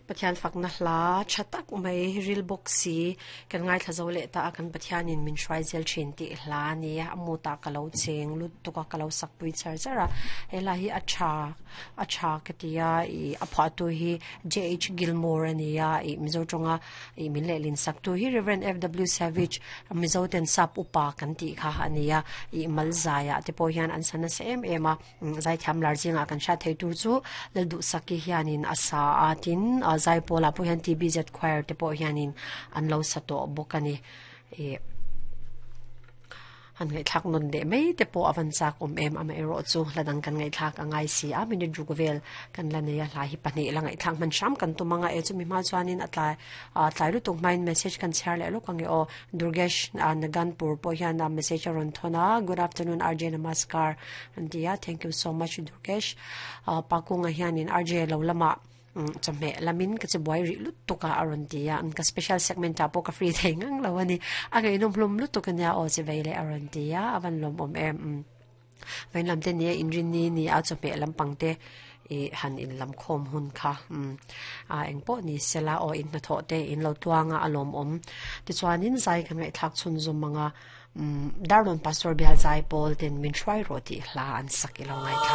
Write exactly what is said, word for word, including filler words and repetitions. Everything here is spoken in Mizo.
Pathian fakna hla tha tak mai ril bawk si kan ngaithla zo leh ta a kan Pathianin min hruai zel thin tih hla a ni a a mut ah ka lo cheng lut tuk a ka lo sak pui char char a he lai hi a tha a tha ka ti a ih a phuah tu hi J H Gilmore a ni a ih mizo tawnga ih min lehlin sak tu hi Reverend F W Savage mizo ten sap upa kan tih kha a ni a ih mal zaiah te pawh hian an sa nasa em em a zaithiam lar zingah kan hriat thei tur chu lal duhsaki hianin a sa a tin a zai pawlah pawh hian T B Z choir te pawh hianin an lo sa tawh bawk a ni ih han ngaihthlak nawn leh mai te pawh a van chak awm em amaherawh chu hla dang kan ngaihthlak a ngai si a minute ruk vel kan la nei a hla hi pahnih la ngaihthlak hman hram kan tum anga e chumi hma chuanin a tlai ah tlai lutuk hmain message kan chhiar leh lawk ang e aw Durgesh ah Naganpur pawh hian a message a rawn thawn a good afternoon R J namaskar an ti a thank you so much Durgesh ah Pakunga hianin R J lo lamah chawhmeh lamin ka che buai rih lutuk a a rawn ti a ka special segment ah pawh ka free thei ngang lo a ni a ngaihnawm hlawm lutuk a nia aw che vei leh a rawn ti a a van lawmawm em vawiin lam te ni a inrin ni ni a chawhmeh lampang te ih han in lam khawm hun kha a eng pawh ni sela aw in hnathawh te in lo tuang a a lawmawm tichuanin zai ka ngaihthlak chhunzawm ang a Darlawn Pastor Bial Zai Pawl ten min hruai rawh tih hla an sak ilo ngaithla.